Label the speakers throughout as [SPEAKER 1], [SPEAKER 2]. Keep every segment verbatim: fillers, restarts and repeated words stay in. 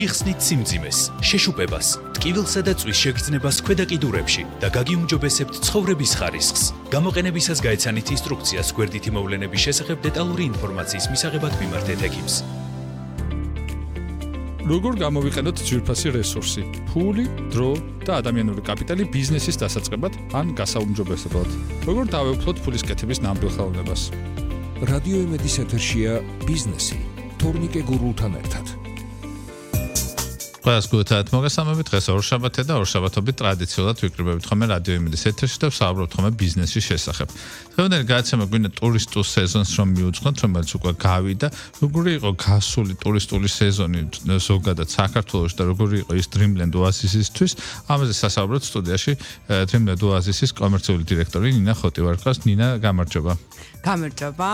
[SPEAKER 1] იხსნით სიმძიმეს, შეშუპებას, ტკივილსა და წვის შეგრძნებას ქვედა კიდურებში და გაგიუმჯობესებთ ცხოვრების ხარისხს. გამოყენებისას გაეცანით ინსტრუქციას გვერდითი მოვლენების შესახებ დეტალური ინფორმაციის მისაღებად მიმართეთ ექიმს.
[SPEAKER 2] როგორ გამოვიყენოთ ძვირფასი რესურსი, ფული, დრო და ადამიანური კაპიტალი ბიზნესის დასაწყებად ან გასაუმჯობესებლად. როგორ დავეუფლოთ ფულის კეთების ნამდვილ ხელოვნებას.
[SPEAKER 3] რადიო იმედის ეთერშია ბიზნესი, თორნიკე გურულთან ერთად.
[SPEAKER 4] ყველას გულთაათ მოგესალმებით, დღეს ორშაბათია და ორშაბათობით ტრადიციულად ვიკრიბებით ხოლმე რადიო იმედის ეთერში და ვსაუბრობთ ხოლმე ბიზნესის შესახებ. დღევანდელი გადაცემა გვინდა ტურისტულ სეზონს რომ მივუძღოთ, რომელიც უკვე გავიდა. როგორი იყო გასული ტურისტული სეზონი ზოგადად საქართველოში და როგორი იყო ის Dreamland Oasis-ისთვის? ამაზე სასაუბროთ სტუდიაში Dreamland Oasis-ის კომერციული დირექტორი ნინა ხოტივარკას. ნინა, გამარჯობა.
[SPEAKER 5] გამარჯობა.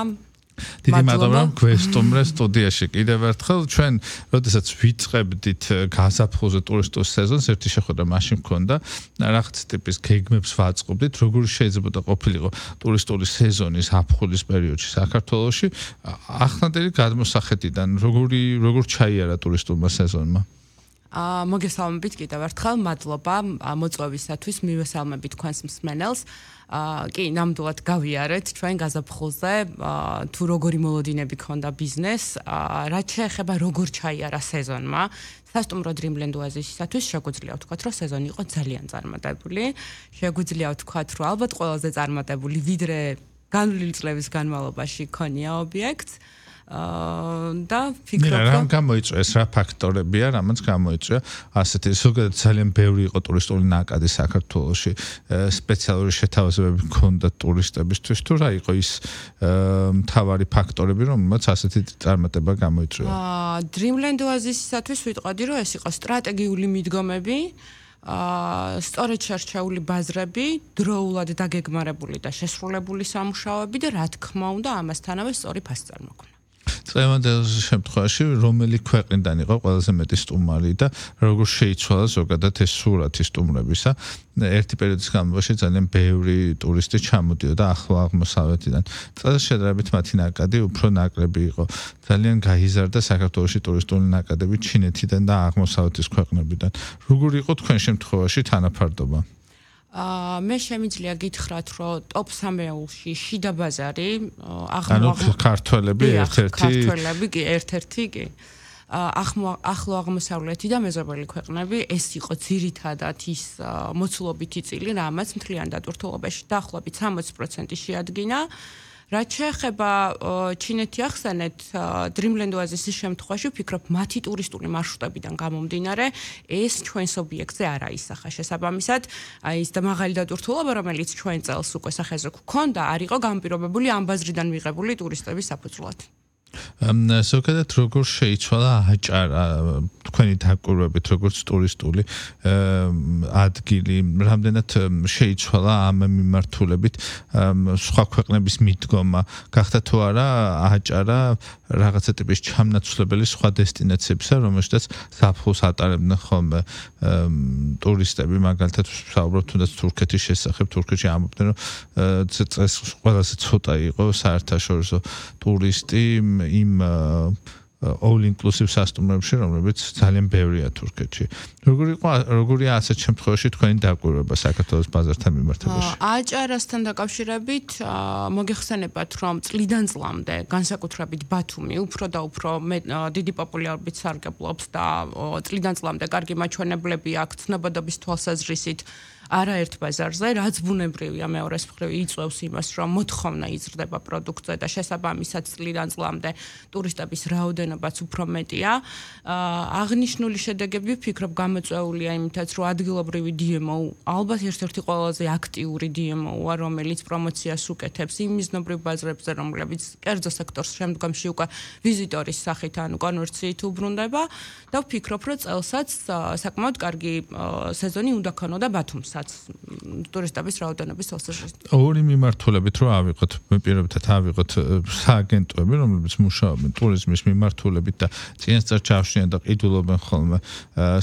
[SPEAKER 4] დიდი მადლობა რომ გვესტუმრე სტუდიაში კიდევ ერთხელ. ჩვენ როდესაც ვიწყებდით გაზაფხულზე ტურისტულ სეზონს, ერთი შეხვედრა მაშინ მქონდა, რაღაც ტიპის გეგმებს ვაწყობდით, როგორი შეიძლება ყოფილიყო ტურისტული სეზონი ზაფხულის პერიოდში საქართველოში. ახლანდელი გადმოსახედიდან როგორი როგორ ჩაიარა ტურისტულმა სეზონმა?
[SPEAKER 5] აა მოგესალმებით კიდევ ერთხელ, მადლობა მოწვევისათვის, მივესალმებით თქვენს მსმენელს. აა კი, ნამდვილად გავიარეთ ჩვენ გაზაფხულზე, აა თუ როგორი მოლოდინები ქონდა ბიზნესს, აა რაც შეეხება როგორ ჩაიარა სეზონმა. სასტუმრო Dreamland Oasis-ისათვის შეგვიძლია ვთქვათ, რომ სეზონი იყო ძალიან წარმატებული. შეგვიძლია ვთქვათ, რომ ალბათ ყველაზე წარმატებული, ვიდრე განვლილი წლების განმავლობაში ქონია ობიექტს. აა და ფიქრობ
[SPEAKER 4] რა გამოიწვია ეს რა ფაქტორებია, რამაც გამოიწვია ასეთი ზოგადად ძალიან ბევრი იყო ტურისტული ნაკადი საქართველოში, სპეციალური შეთავაზებები ჰქონდა ტურისტებისთვის, თუ რა იყო ის მთავარი ფაქტორები, რომელმაც ასეთი წარმატება გამოიწვია?
[SPEAKER 5] აა Dreamland Oasis-ისათვის ვიტყოდი, რომ ეს იყო სტრატეგიული მიდგომები, აა სწორედ შერჩეული ბაზრები, დროულად დაგეგმარებული და შესრულებული სამუშაოები და რა თქმა უნდა ამასთანავე სწორი ფასწარმოქმედება.
[SPEAKER 4] წლევანდელ შემთხვევაში რომელი ქვეყნიდან იყო ყველაზე მეტი სტუმარი და როგორ შეიცვალა ზოგადად ეს სურათი სტუმრებისა? ერთი პერიოდის განმავლობაში ძალიან ბევრი ტურისტი ჩამოდიოდა ახლო აღმოსავლეთიდან. წელს შედარებით მათი ნაკადი უფრო ნაკლები იყო. ძალიან გაიზარდა საქართველოში ტურისტული ნაკადები ჩინეთიდან და აღმოსავლეთის ქვეყნებიდან. როგორი იყო თქვენ შემთხვევაში თანაფარდობა?
[SPEAKER 5] აა მე შემიძლია გითხრათ, რომ ტოპ სამეულში შიდა ბაზარი,
[SPEAKER 4] ანუ ქართველები ერთ-ერთი
[SPEAKER 5] ქართველები კი ერთ-ერთი კი. ახლო აღმოსავლეთი და მეზობელი ქვეყნები, ეს იყო ძირითადად ის მოცულობითი წილი, რამაც მთლიან დატვირთულობაში დაახლოებით სამოცი პროცენტი შეადგინა. რაც შეეხება ჩინეთი ახსენეთ, Dreamland Oasis-ის შემთხვევაში ვფიქრობ, მათი ტურისტული მარშრუტებიდან გამომდინარე, ეს ჩვენს ობიექტზე არ აისახა შესაბამისად, აი ის და მაღალი დატვირთულობა, რომელიც ჩვენ წელს უკვე სახეზე გვქონდა, არ იყო განპირობებული ამ ბაზრიდან მიღებული ტურისტების საფუძვლად.
[SPEAKER 4] ზოგადად როგორ შეიცვალა აჭარა თქვენი დაკვირვებით, როგორც ტურისტული ადგილი, რამდენად შეიცვალა ამ მიმართულებით სხვა ქვეყნების მიდგომა, გახდა თუ არა აჭარა რაღაცა ტიპის ჩამნაცვლებელი სხვა დესტინაციებისა, რომელშიც ზაფხულს ატარებდნენ ხოლმე ტურისტები, მაგალითად ვსაუბრობ თუნდაც თურქეთის შესახებ, თურქეთში ამბობდნენ, რომ წელს ყველაზე ცოტა იყო საერთაშორისო ტურისტი იმ all inclusive სასტუმროებში, რომლებიც ძალიან ბევრია თურქეთში. როგორი იყო როგორია ასეთ შემთხვევაში თქვენი დაკვირვება საქართველოს ბაზართან მიმართებაში?
[SPEAKER 5] აჭარასთან დაკავშირებით მოგეხსენებათ, რომ წლიდან წლამდე განსაკუთრებით ბათუმი უფრო და უფრო დიდი პოპულარობით სარგებლობს და წლიდან წლამდე კარგი მაჩვენებლები აქვს ცნობადობის თვალსაზრისით არაერთ ბაზარზე, რაც ბუნებრივია მეორეს მხრივ იწვევს იმას, რომ მოთხოვნა იზრდება პროდუქტზე და შესაბამისად წლიდან წლამდე ტურისტების რაოდენობაც უფრო მეტია. აღნიშნული შედეგები ვფიქრობ გამოწვეულია იმითაც, რომ ადგილობრივი დი ემ ო ალბათ ერთ-ერთი ყველაზე აქტიური დი ემ ო-ა, რომელიც პრომოციას უკეთებს იმ მიზნობრივ ბაზრებზე, რომლებიც კერძო სექტორს შემდგომში უკვე ვიზიტორის სახით ანუ კონვერციით უბრუნდება და ვფიქრობ, რომ წელსაც საკმაოდ კარგი სეზონი უნდა ქონოდა ბათუმს. ტურისტების რაოდენობის თვალსაზრისით.
[SPEAKER 4] ორი მიმართულებით რო ავიღოთ, მე პირობითად ავიღოთ სააგენტოები, რომლებიც მუშაობენ ტურიზმის მიმართულებით და წინასწარ ჩავშნიან და ყიდულობენ ხოლმე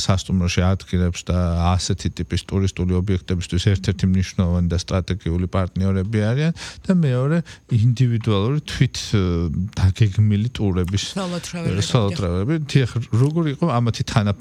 [SPEAKER 4] სასტუმროში ადგილებს და ასეთი ტიპის ტურისტული ობიექტებისთვის ერთ-ერთი მნიშვნელოვანი და სტრატეგიული პარტნიორები არიან და მეორე ინდივიდუალური თვით დაგეგმილი ტურების სოლო ტრაველები. როგორი იყო ამათი თანაფარდობა?